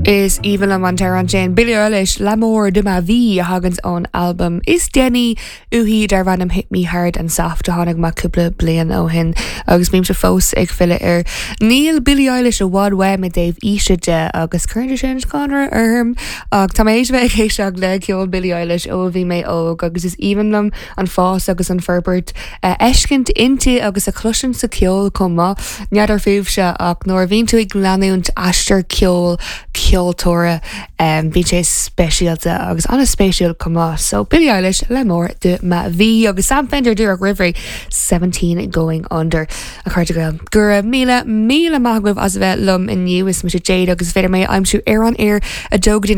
Is aoibhinn liom an t-amhrán sin, Billie Eilish, L'amour de ma vie, a thaganns ón albam is déanaí uaithi darb ainm Hit Me Hard and Soft a tháinig amach cúpla bliain ó shin agus bímse fós ag filleadh air. Níl Billie Eilish i bhfad uaim i dtaobh aoise de agus cuireann sé sin scanradh orm ach tá mé théis bheith ag éisteacht le ceol Billie Eilish ó a bhí mé óg agus is aoibhinn liom an fás agus an forbairt a fheiscint inti agus a chloisint sa cheol chomh maith. N'fheadar fúibhse ach nuair a bhíonn tú ag leanúint aistear ceoil ceoltóra bíonn sé speisialta agus an-spéisiúil chomh maith. So Billie Eilish, L'amour de ma vie agus Sam Fender díreach roimh ré 17 Going Under. A chairde Gael, go raibh míle míle maith agaibh as a bheith liom inniu. Is mise Jade agus is féidir mé a aimsiú ar an aer 2 go dtí.